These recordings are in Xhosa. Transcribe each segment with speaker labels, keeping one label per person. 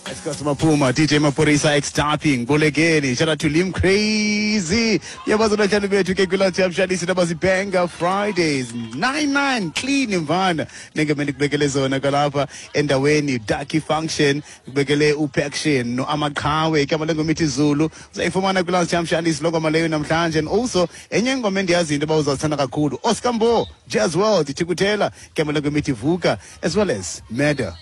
Speaker 1: Esikosi Maphuma, DJ Maphorisa ex-tapping, Bolekeni, shout out to Lim Crazy. Yabazi abahlali bethu ke kwilathi yamshalisi nabazibenga Fridays 99 clean mvana. Nengeme ndikubekele zona kwalapha endaweni Ducky Function, ndikubekele uPaction no Amaqhawe ke amalengo mithi Zulu. Uzayifumana kwilathi yamshalisi longoma leyo namhlanje and also enye ingoma endiyaziyo into yoba uzazithanda kakhulu. Oscar Mbo, Jazz World, Thikuthela, ke amalengo mithi Vuka as well as Murder.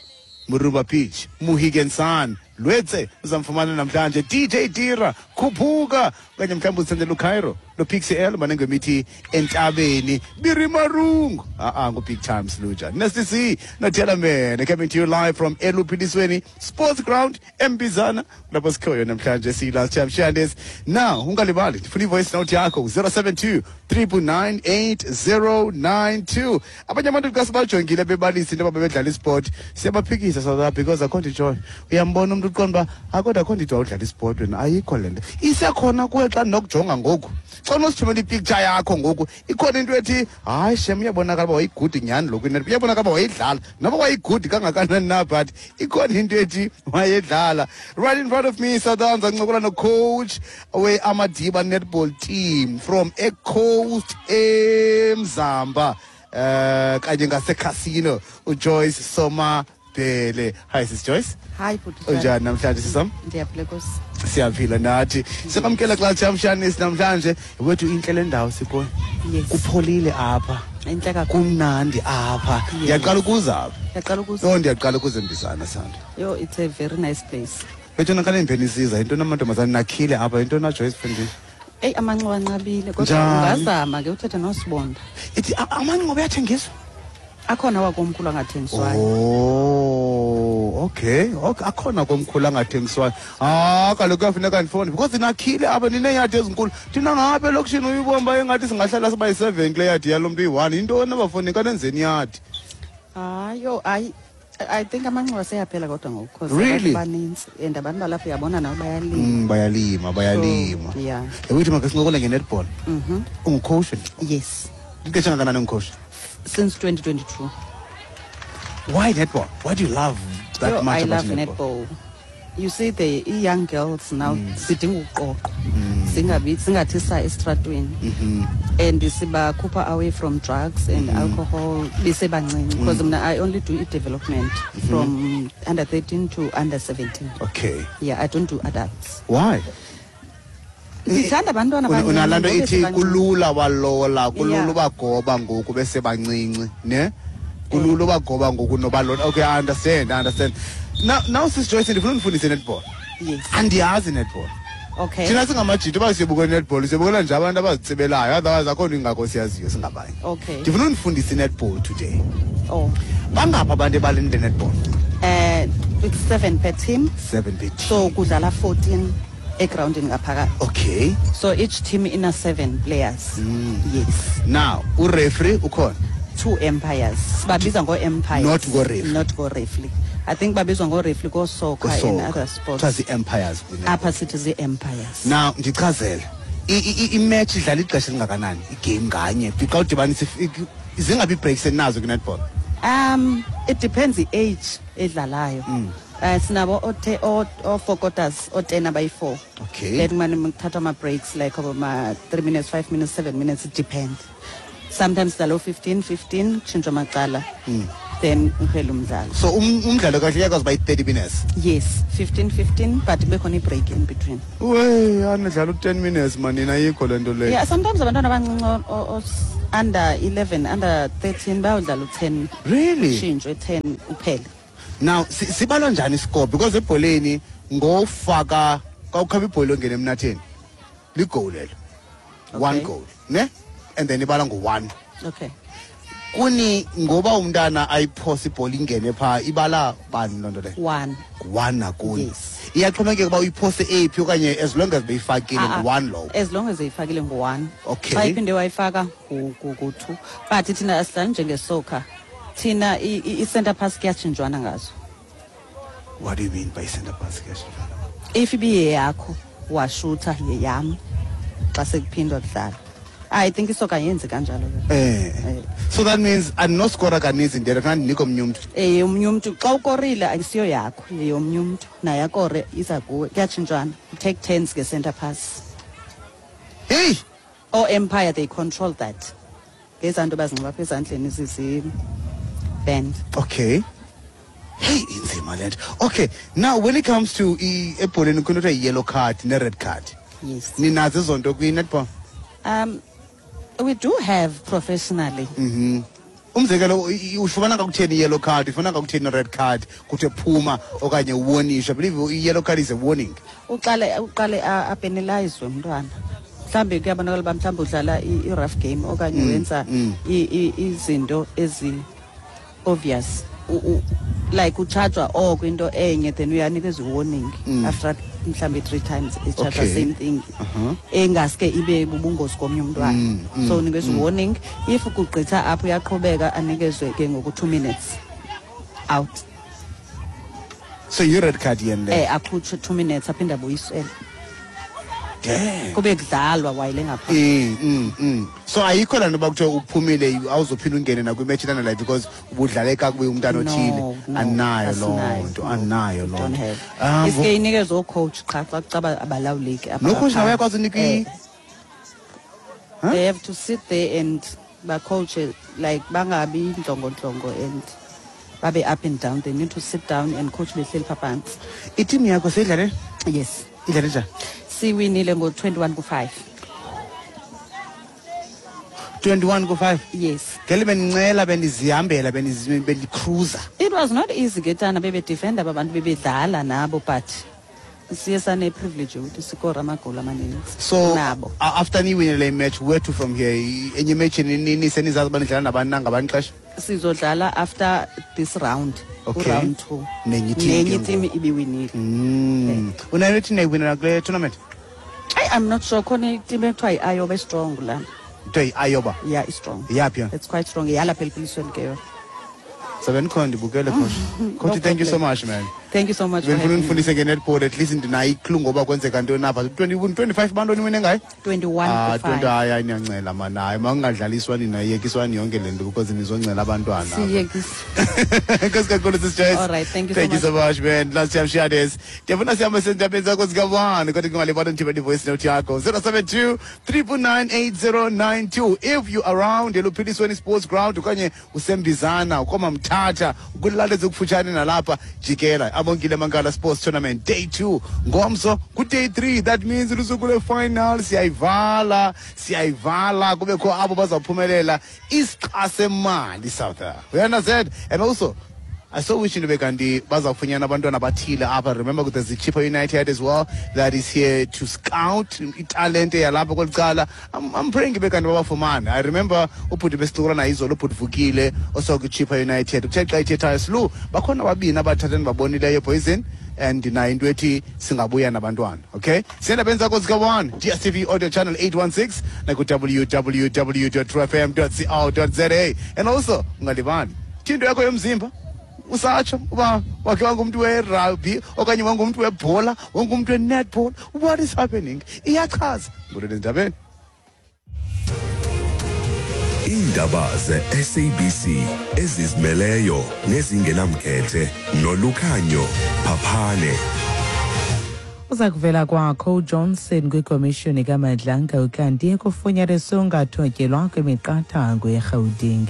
Speaker 1: Muruba Beach, Mohegan Sun, Lwetse uzamfumana namhlanje DJ Tira khuphuka okanye mhlawumbi uzithandela uCairo noPixie L manengemithi entabeni Birimarungu a-a ngu-Big Time Sluja Nasty C noThela Mene coming to you live from Eluphilisweni Sports Ground eMbizana lapho sikhoyo namhlanje siyi-last time Shandes now ungalibali ndifuna i-voice note yakho 072 999 8092 abanye abantu xa sibajongile bebalisa into yoba bebedlala isport siyabaphikisa South Africa because akho nto itshoyo uyambona umntu uqonda uba akodwa akho nto ithiwa udlala isport wena ayikho le nto isekhona kuwe xa ndinokujonga ngoku xa unosithumela ipicture yakho ngoku ikhona into ethi hayi shem uyabonakala uba wayigudi nyhani lo kwinetball uyabonakala uba wayidlala noba wayigudi kangakanani na but ikhona into ethi wayedlala. Right in front of me Sundowns ancokola nocoach we-Amadiba netball team from ecoast eMzamba kanye ngaseCasino uJoyce Somabhele. Hi sis Joyce.
Speaker 2: Hi bhuti.
Speaker 1: Unjani namhlanje sisam?
Speaker 2: Ndiyaphila Nkosi.
Speaker 1: Siyaphila nathi. Sikwamkela xa Chamshanis namhlanje. Wethu intle le ndawo sikuyo.
Speaker 2: Yes.
Speaker 1: Kupholile apha.
Speaker 2: Intle kakhulu.
Speaker 1: Kumnandi apha.
Speaker 2: Yes.
Speaker 1: Ndiyaqala ukuza apha.
Speaker 2: Ndiyaqala ukuza.
Speaker 1: Oh ndiyaqala ukuza eMbizana sanda.
Speaker 2: Yo it's a very nice place.
Speaker 1: Bethuna xa nimpheni isiza yintoni amantombazana nakhile apha yintoni na Joyce mfundini?
Speaker 2: Eyi amanxiwa anqabile kodwa
Speaker 1: Njani?
Speaker 2: ungazama ke uthethe noSibonda.
Speaker 1: Ithi amanxiwa ayathengiswa?
Speaker 2: Akhona wakomkhulu angathengiswayo.
Speaker 1: Oh, okay. Okay, akhona komkhulu angathengiswayo. Ah, kaloku kuyafuneka ndifone because nakhile apha nineeyadi ezinkulu. Thina ngapha elokishini uyibomba engathi singahlala siba yi-7 kule yadi yalo mntu uyi-1. Yintoni abafoni kanenzeni yadi?
Speaker 2: Hayi, yo hayi I think amanxiwa seyaphela kodwa ngoku because
Speaker 1: Really?
Speaker 2: abantu banintsi and abantu balapha uyabona nabo bayalima.
Speaker 1: Bayalima, bayalima.
Speaker 2: So, yeah.
Speaker 1: Yawuthi makasincokole nge-netball. Ungucoach wena?
Speaker 2: Yes.
Speaker 1: Ixesha kangakanani ungucoach?
Speaker 2: Since 2022.
Speaker 1: Why netball? Why do you love that
Speaker 2: Yo,
Speaker 1: much
Speaker 2: I
Speaker 1: about
Speaker 2: love
Speaker 1: netball?
Speaker 2: netball. You see the young girls now sidinga uqoqo. Singabi singathi sa estratweni. And sibakhupha away from drugs and alcohol besebancinci because mna I only do i-development from under 13 to under 17.
Speaker 1: Okay.
Speaker 2: Yeah, I don't do adults.
Speaker 1: Why?
Speaker 2: Ndithanda abantwana abancinci
Speaker 1: Unalaa nto
Speaker 2: ngoku
Speaker 1: ithi
Speaker 2: besebancinci.
Speaker 1: kulula walola, kulula
Speaker 2: Yeah.
Speaker 1: ubagoba ngoku besebancinci, ne? Kulula ubagoba ngoku nobalona. Okay, I understand, I understand. Now Sis Joyce ndifuna undifundise netball.
Speaker 2: Yes.
Speaker 1: Andiyazi netball.
Speaker 2: Okay.
Speaker 1: Thina singamajita uba siyobukela netball, siyobukela nje abantu abazitsibelayo, otherwise akho nto ingako siyaziyo singabanye.
Speaker 2: Okay.
Speaker 1: Ndifuna undifundise netball today.
Speaker 2: Oh.
Speaker 1: Bangaphi abantu ebaleni le-netball?
Speaker 2: It's 7 per team.
Speaker 1: 7 per team.
Speaker 2: So kudlala 14 egroundini ngaphakathi.
Speaker 1: Okay.
Speaker 2: So each team ina 7 players. Yes.
Speaker 1: Now, ureferee ukhona?
Speaker 2: 2 umpires. Sibabiza ngo-umpires.
Speaker 1: Not ngo-referee.
Speaker 2: Not ngo-referee. I think babizwa ngo-referee ko-soccer and
Speaker 1: Ko-soccer.
Speaker 2: other sports.
Speaker 1: Kuthiwa zii-umpires kwi-netball.
Speaker 2: Apha sithi zii-umpires.
Speaker 1: Now, ndichazele. I-match idlala ixesha elingakanani? Igame nganye. Xa udibanisa zingabi ii-breaks eninazo kwi-netball?
Speaker 2: It depends i-age edlalayo. Sinabo o-4 quarters, o-10 abayi-4.
Speaker 1: Okay.
Speaker 2: Then kumane kuthathwa ama-breaks like ma 3 minutes, 5 minutes, 7 minutes, it depends. Sometimes sidlala o-15, 15, kutshintshwa amacala. Then uphele umdlalo.
Speaker 1: So umdlalo kahle uyakwazi uba yi-30 minutes?
Speaker 2: Yes, 15, 15, but kube khona i-break in between.
Speaker 1: Wey, anidlala u-10 minutes manina ayikho le nto leyo.
Speaker 2: Yeah, sometimes abantwana abancinci under 11, under 13 bayodlala u-10.
Speaker 1: Really?
Speaker 2: Utshintshwe 10 uphele.
Speaker 1: Now, sibalwa njani iscore? Because ebholeni ngofaka xa ukhaba ibhola ongena emnatheni ligoal elo. 1
Speaker 2: Okay.
Speaker 1: goal, ne? And then ibala ngo-1.
Speaker 2: Okay.
Speaker 1: Kuni ngoba umntana ayiphose ibhola ingene phaa ibala bani loo nto leyo?
Speaker 2: 1.
Speaker 1: 1 nakuni.
Speaker 2: Yes.
Speaker 1: Iyaxhomekeka uba uyiphose ephi okanye as long as beyifakile
Speaker 2: Ah, ah.
Speaker 1: ngu-1 lowo.
Speaker 2: As long as eyifakile ngu-1.
Speaker 1: Okay.
Speaker 2: Xa iphinde wayifaka ngu-2. But thina asidlali njengesoccer. Thina i-center pass kuyatshintshwana ngazo.
Speaker 1: What do you mean by center pass kuyatshintshwana?
Speaker 2: If ibiyeyakho washutha yeyam xa sekuphindwa kudlala. I think isoka yenzi kanjalo ke.
Speaker 1: So that means andinoskora kaninzi, ndiyela funa ndinike omnye umntu.
Speaker 2: Omnye umntu. Xa ukorile, ayisiyo yakho, yeyomnye umntu, naye akore, iza kuwe, kuyatshintshwana. Take turns nge-center pass.
Speaker 1: Heyi.
Speaker 2: Oo-umpire, they control that ngezaa nto bazinxiba apha ezandleni, zizi-band.
Speaker 1: Okay, hey, inzima le nto. Okay, now when it comes to ebholeni, kukho into kuthiwa yi-yellow card ne-red card.
Speaker 2: Yes.
Speaker 1: Ninazo ezo nto kwi-netball?
Speaker 2: We do have professionally.
Speaker 1: Umzekelo, ufumana kakutheni i-yellow card, ufumana kakutheni i-red card, kuthiwe phuma okanye uwonishe? I believe i-yellow card is a warning.
Speaker 2: Uqale apenalizwe umntwana. Mhlawumbi kuyabonakala uba mhlawumbi udlala i-rough game okanye wenza izinto ezi-obvious. Like utshajwa oko into enye, then uyanikezwa i-warning after mhlawumbi three times itshajwa same thing engaske ibe bubungozi komnye umntwana. So unikezwa i-warning. If kugqitha apho, uyaqhubeka, anikezwe ke ngoku 2 minutes out.
Speaker 1: So yi-red card yeni le?
Speaker 2: Akhutshwe 2 minutes, aphinde abuyisele.
Speaker 1: Damn.
Speaker 2: Kube kudlalwa wayile ngapha.
Speaker 1: So ayikho laa nto uba kuthiwe uphumile, awuzophinda ungene nakwimetshi elandelayo because ubudlale kakubi umntana othile?
Speaker 2: No, no,
Speaker 1: Anayo loo
Speaker 2: asinayo,
Speaker 1: nto?
Speaker 2: No.
Speaker 1: Anayo loo
Speaker 2: Don't
Speaker 1: nto.
Speaker 2: have. Iske inikezwe oocoach qha xa kucaba abalawuleki apha
Speaker 1: Nocoach nawe
Speaker 2: ngaphandle.
Speaker 1: uyakwazi unika Huh?
Speaker 2: They have to sit there and bacoache, like bangabi ntlongontlongo and babe up and down. They need to sit down and coach behleli pha phantsi.
Speaker 1: Itimu yakho seyidlale?
Speaker 2: Yes.
Speaker 1: Idlale njani?
Speaker 2: Siwinile ngo-21 ku-5.
Speaker 1: 21 ku-5?
Speaker 2: Yes.
Speaker 1: Ngeli bendincela, bendizihambela, bendikruza.
Speaker 2: It was not easy ke tana, bebedefenda aba bantu bebedlala nabo, but siye sane-privilege yokuthi sikore amagoli amaninzi
Speaker 1: So
Speaker 2: nabo.
Speaker 1: After niwine le match, where to from here? Enye imatch nini, senizazi uba nidlala nabani na ngabani xesha?
Speaker 2: Sizodlala after this round, round two.
Speaker 1: Nenye team
Speaker 2: Nenye
Speaker 1: ke
Speaker 2: team
Speaker 1: ngoku.
Speaker 2: ibiwinile.
Speaker 1: Unayo ithini ayiwinela kule tournament?
Speaker 2: Ayi, I'm not sure. Khona iteam ekuthiwa yi-Ayoba, istrong la.
Speaker 1: Kuthiwa yi-Ayoba?
Speaker 2: Yeah, istrong.
Speaker 1: Yaphi yona?
Speaker 2: It's quite strong, yalapha eliphilisweni ke yona.
Speaker 1: Sabe ndikhona, ndibukele, coach. Coach,
Speaker 2: No
Speaker 1: thank you so
Speaker 2: problem.
Speaker 1: much, man.
Speaker 2: Thank you so much for
Speaker 1: Bendifuna
Speaker 2: having me.
Speaker 1: undifundise nge-netball, at least ndinayo iclue ngoba kwenzeka ntoni apha. 20, 25 bantoni wine ngayo?
Speaker 2: 21
Speaker 1: Ah,
Speaker 2: to 5.
Speaker 1: 20. Hayi, hayi, niyancela mani. Hayi, makungadlaliswa nina, yekiswani yonke le nto because nizoncela abantwana apha.
Speaker 2: Siyekisa.
Speaker 1: Enkosi kakhulu, Sis Joyce.
Speaker 2: All right, thank you so
Speaker 1: Thank you
Speaker 2: much.
Speaker 1: so much, man. Last time shades. Ndiyafuna sihambe sendabeni zakho zikabani, kodwa kungalibali ndithibele i-voice note yakho 072 399 8092 if you around eLuphilisweni Sports Ground okanye useMbizana, ukoMamthatha, kwilali ezikufutshane nalapha, jikela Abongile Mankala Sports Tournament day 2 ngomso, ku-day 3. That means lusuku lwe-final, siyayivala, siyayivala, kubekho abo bazawuphumelela isixa semali south. You understand? And also I so wish into kanti bazawufunyana abantwana abathile apha. Remember, there's the Chippa United as well that is here to scout italente yalapha kweli cala. I'm praying ibe kanti babafumane. I remember ubhuti besicokola naye izolo, ubhuti Vukile osuka kwiChippa United, uthe xa ethethayo silu bakhona ababini abathathu endibabonileyo, poison, and ndinayo into ethi singabuya nabantwana. Okay, siyendabeni zakho zika-1, DStv audio channel 816 naku-www truefm co za. And also ungalibali into yakho yomzimba, usatsho uba wakhe wangumntu werugby okanye wangumntu webhola, wangumntu we-netball. What is happening? Iyachaza ngolweni ezindabeni.
Speaker 3: Iindaba ze-SABC ezizimeleyo nezingenamkhethe noLukhanyo Phaphane.
Speaker 4: Uza kuvela kwakho uJohnson kwikomishoni kaMadlanga, ukanti kufunyaniswe ungathotyelwa kwemiqathango yeRhawuteng.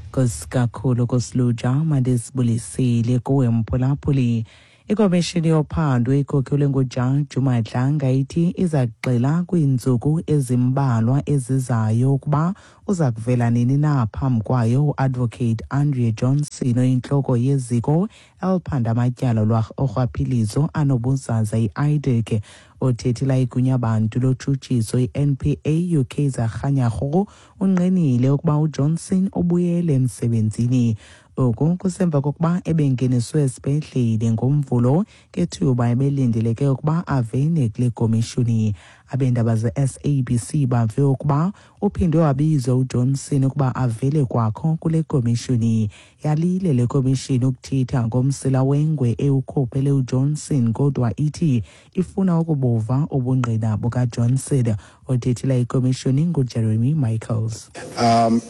Speaker 4: Nkosi kakhulu kusiluja, mandisibulisile kuwe mphulaphuli. Ikomishini yophando ikhokhelwe ngujaji uMadlanga ithi iza kugxila kwiintsuku ezimbalwa ezizayo ukuba uza kuvela nini na phambi kwayo uadvocate Andrea Johnson, oyintloko yeziko eliphanda amatyala orhwaphilizo anobuzaza, i-IDAC. Othethela igunyabantu lotshutshiso, i-NPA, uKaizer Kganyago, unqinile ukuba uJohnson ubuyele emsebenzini. Oku kusemva kokuba ebengeniswe esibhedlele ngoMvulo ngethuba ebelindeleke ukuba avele kule komishoni. Abeendaba ze-SABC bave ukuba uphinde wabizwa uJohnson ukuba avele kwakho kule komishoni. Yalile le komishoni ukuthetha ngomsila wengwe ewukhuphele uJohnson, kodwa ithi ifuna ukubuva ubungqina bukaJohnson. Othethela ikomishoni nguJeremy Michaels.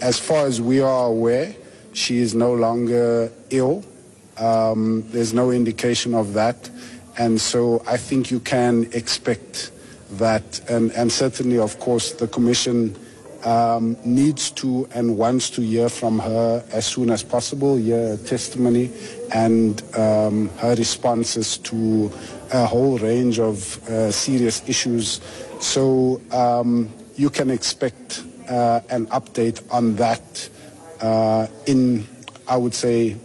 Speaker 5: As far as we are aware, she is no longer ill. There's no indication of that. And so I think you can expect that. And certainly, of course, the Commission needs to and wants to hear from her as soon as possible, hear her testimony and her responses to a whole range of serious issues. So you can expect an update on that in, I would say,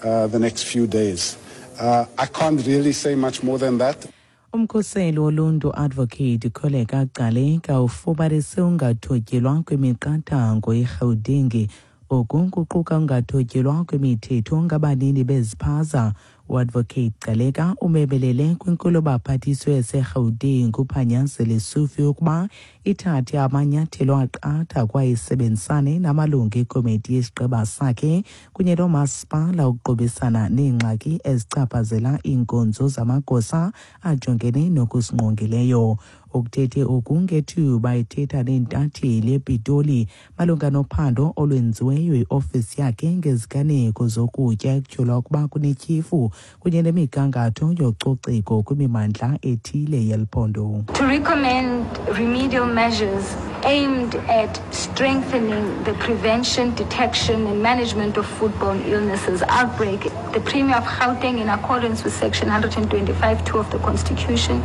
Speaker 5: the next few days. I can't really say much more than that.
Speaker 4: Umkhuseli woluntu Advocate Kholeka Gcaleka ufumanise ungathotyelwa kwemiqathango eRhawuteng. Oku kuquka ungathotyelwa kwemithetho ngabanini beziphaza. UAdvocate Gcaleka umebelele kwinkulubaphathiswa yaseRhawuteng uPanyaza Lesufi ukuba ithathe amanyathelo aqatha kwaye isebenzisane namalungu ekomiti yesigqeba sakhe kunye noomasipala ukuqubisana neengxaki ezichaphazela iinkonzo zamagosa ajongene nokusingqongileyo. Ukuthethe oku ngethuba ethetha neentatheli ePitoli malunga nophando olwenziweyo yiofisi yakhe ngeziganeko zokutya ekutyholwa ukuba kunetyhefu kunye nemigangatho yococeko kwimimandla ethile yeli phondo.
Speaker 6: To recommend remedial measures aimed at strengthening the prevention, detection, and management of foodborne illnesses outbreak. The Premier of Gauteng, in accordance with Section 125(2) of the Constitution,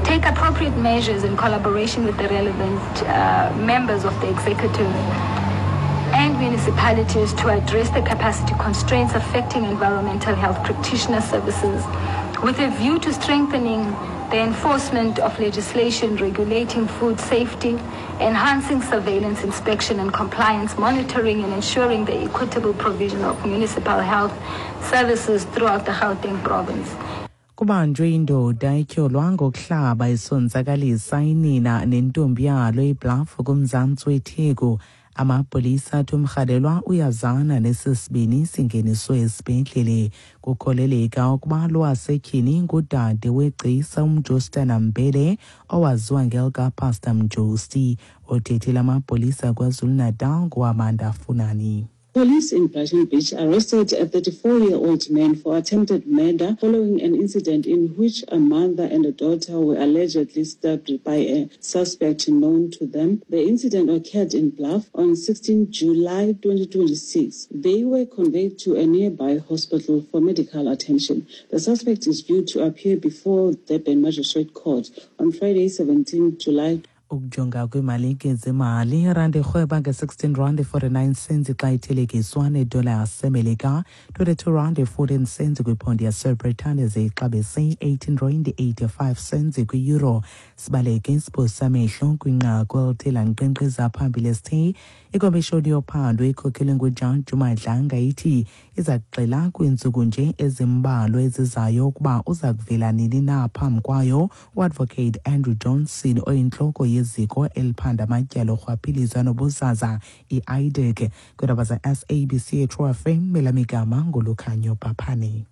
Speaker 6: take appropriate measures in collaboration with the relevant members of the executive and municipalities to address the capacity constraints affecting environmental health practitioner services with a view to strengthening the enforcement of legislation regulating food safety, enhancing surveillance, inspection and compliance monitoring, and ensuring the equitable provision of municipal health services throughout the Gauteng province.
Speaker 4: Kubanjwe indoda etyholwa ngokuhlaba isonzakalisa inina nentombi yalo eBluff kumzantsi weTheku. Amapolisa athi umrhanelwa uyazana nesi sibini singeniswe esibhedlele. Kukholeleka ukuba lowasetyhini ngudade wegcisa uMjostana Mbele owaziwa ngelikaPastor Mjosti. Othethela amapolisa KwaZulu-Natal nguAmanda Funani.
Speaker 7: Police in Brighton Beach arrested a 34-year-old man for attempted murder following an incident in which a mother and a daughter were allegedly stabbed by a suspect known to them. The incident occurred in Bluff on 16 July 2026. They were conveyed to a nearby hospital for medical attention. The suspect is due to appear before the Durban Magistrate Court on Friday, 17 July.
Speaker 4: Ukujonga kwiimalike zemali, irandi irhweba nge-16 rand 49 cents xa ithelekiswa nedola yaseMelika, 22 rand 14 cents kwiphondi yaseBritane, ze ixabise 18 rand 85 cents kwi-euro. Sibaleke isipho samehlo kwinqaku elithe lankqenkqeza phambili esithe ikomishoni yophando ikhokhelwe nguJaji uMadlanga ithi iza kuxela kwiintsuku nje ezimbalwa ezizayo ukuba uza kuvela nini na phambi kwayo uAdvocate Andrew Johnson oyintloko yeziko eliphanda amatyala orhwaphilizo anobuzaza i-IDAC. Kwiindaba ze-SABC eTrue FM, elamigama nguLukhanyo Bhaphane.